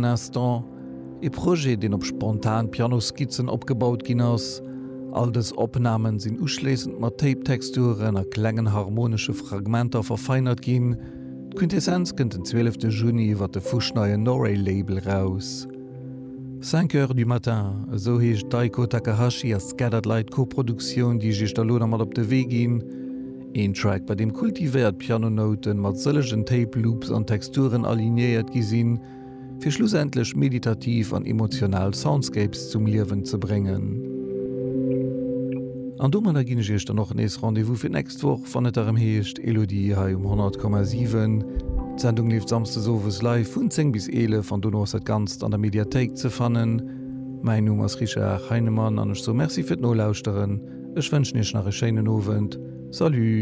un instant, ee Projet, deen op spontan Pianoskizzen opgebaut ginn ass. All dës Opnamen sinn uschléissend mat Tape-Texturen a klengen harmonesche Fragmenter verfeinert ginn. D'Quintessenz kënnt den 12 Juni iwwer de fuschneien Norey-Label raus. Cinq heures du matin, esou heescht d'Aiko Takahashi a Scattered Light Co-Produktioun, déi ech iech da lo nach mat op de Wee ginn. Een Track, bei deem kultivéiert Pianonouten mat sëllegen Tape Loops an Texturen alignéiert gi sinn, fir schlussendlech meditativ an emotional Soundscapes zum Liewen ze bréngen. An domadder ginn ech iech dann och nees Rendez-vous fir d'nächst Woch, wann et erëm heescht Elodie hei um 100,7. D'Sendung leeft samsdes owes live vun 10 bis 11 an dono ass dat Ganzt an der Mediathéik ze fannen. Mäin Numm ass Richard Heinemann an ech soe Merci fir d'Nolauschteren. Ech wënschen iech nach e schéinen Owend. Salut!